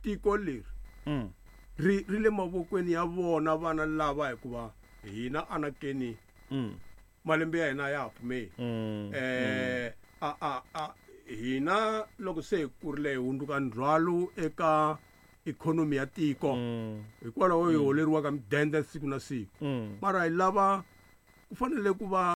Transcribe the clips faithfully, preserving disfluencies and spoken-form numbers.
Tiko leri Mm. ri ri le mavokweni ya vona vana lava, hikuva hina anakeni Mm. malembe ya hina ya ha pfumeli. Mm. eh a a a hina loko se hi kurile hi hundzuka ndzhwalo eka ikhonomi ya tiko, Mm. hikwalaho hi holeriwaka midende siku na siku. Mm. Mara hi lava ku fanele ku va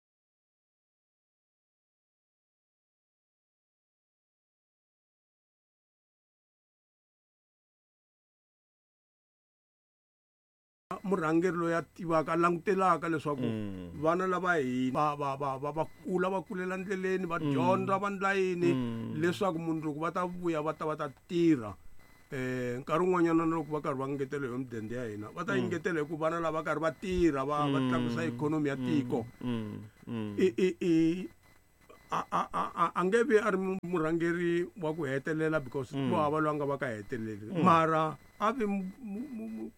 murhangeri loyi a tivaka, a langutelaka leswaku Mm. vana lava hi va va va va va kula, va kulela ndleleni, va dyondza, va ndla yini, Mm. leswaku mundzuku va ta vuya va ta va ta tirha. eh nkarhi wun'wanyana na loko va karhi va ngetela hi midende ya hina, va ta engetela hi ku vana lava karhi va tirha, va va tlakusa ikhonomi ya tiko. Mm. Mm. I i i a a a a a nge vi a ri mu- murhangeri wa ku hetelela, because ku hava loyi a nga va ka heteleli, mara a vi mu- mu- mu- mu-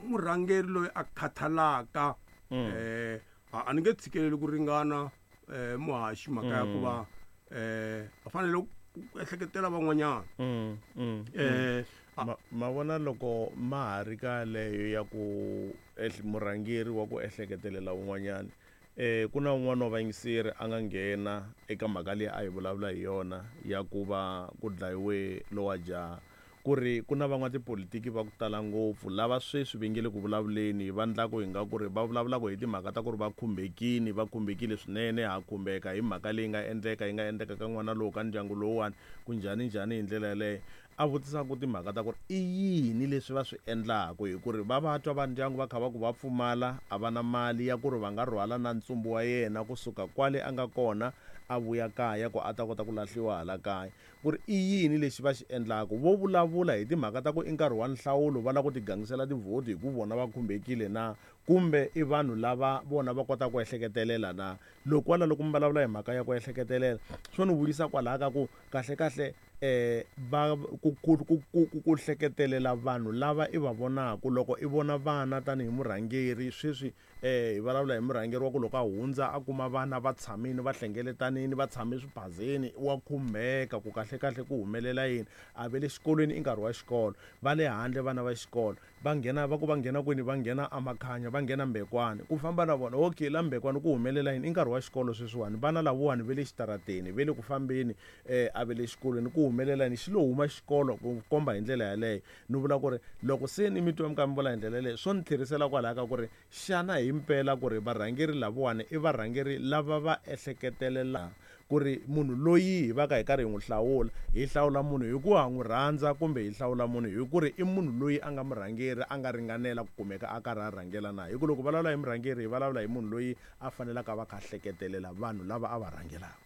murhangeri loyi a khathalaka. eh a a ni nge tshikeleli ku ringana eh muhaxi mhaka ya ku va eh a fanele ku ehleketela van'wanyana. Mm. Mm. eh a- Ma, ma vona loko ma ha ri ka leyo ya ku ehl- murhangeri wa ku ehleketelela un'wanyana, eh ku na un'wana wa vayingiseri a nga nghena eka mhaka leyi a hi vulavula hi yona ya ku va ku dlayiwe lowa jaha, ku ri ku na van'watipolitiki va ku tala ngopfu lava sweswi va nge le ku vulavuleni, va ndlaku hi nga ku ri va vulavulaka hi timhaka ta ku ri va khumbekile, va khumbekile swinene, ha khumbeka hi mhaka leyi nga endleka, yi nga endleka ka n'wana lowu, ka ndyangu lowuwani, ku njhani njhani hi ndlela yaleyo. A vutisaka timhaka ta ku ri i yini leswi va swi endlaku, hi ku ri va va twa va ndyangu va kha va ku va pfumala, a va na mali ya ku ri va nga rhwala na ntsumbu wa yena kusuka kwale a nga kona a vuya kaya ku a ta kota ku lahliwa hala kaya, ku ri i yini lexi va xi endlaku. Vo vulavula hi timhaka ta ku i nkarhi wa nhlawulo, va lava ku tigangisela tivhoti hi ku vona va khumbekile na, kumbe i vanhu lava vona va kotaka ku ehleketelela na. Loko kwala loko mi vulavula hi mhaka ya ku ehleketelela, swo ni vuyisa kwalaya ka ku kahle kahle eh va ku ku ku ku ku ku hleketelela vanhu lava i va vonaka. Loko i vona vana tanihi murhangeri sweswi, eh hi vulavula hi murhangeri wa ku loko a hundza a kuma vana va tshamile, va hlengeletanini, va tshame swiphazeni, wa khumbeka ku kahle kahle ku humelela yini. A ve le xikolweni i nkarhi wa xikolo, va le handle vana va xikolo va nghena, va ku va nghena kwini, va nghena amakhanya, va nghena Mbekwane, ku famba na vona. Okay, la Mbekwane ku humelela yini? I nkarhi wa xikolo sweswiwani, vana lavawani ve le xitarateni, ve le ku fambeni, eh a ve le xikolweni ku humelela yini? Xi lo huma xikolo ku komba hi ndlela yaleyo. Ni vula ku ri loko se ni mi twa mi kha mi vula hi ndlela yaleyo, swo ni tlherisela kwalaya ka ku ri xana himpela ku ri varhangeri lavawani i varhangeri lava va ehleketelela ku ri munhu loyi hi va ka hi karhi hi n'wi hlawula, hi hlawula munhu hi ku ha n'wi rhandza, kumbe hi hlawula munhu hi ku ri i munhu loyi a nga murhangeri, a nga ringanela ku kumeka a karhi a rhangela na. Hi ku loko vulavula hi murhangeri, hi vulavula hi munhu loyi a fanelaka va kha hleketelela vanhu lava a va rhangelaka.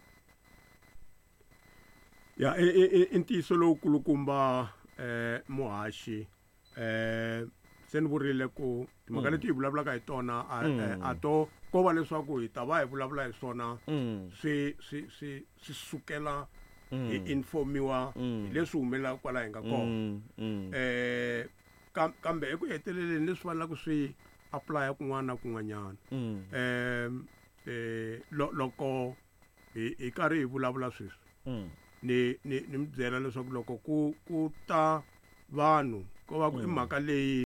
Ya, i i i ntiyiso lowukulukumba eh muhaxi. eh se ni vurile ku timhaka leti hi vulavulaka hi tona a a to ko va leswaku hi ta va hi vulavula hi swona, swi swi swi swi sukela hi informiwa hi leswi humelelaka kwala hi nga kona. eh kambe eku heteleleni leswi fanelaka swi apply kun'wana na kun'wanyana. eh eh loko hi hi karhi hi vulavula sweswi, ni ni ni mi byela leswaku loko ku ku ta vanhu ko va ku i mhaka leyi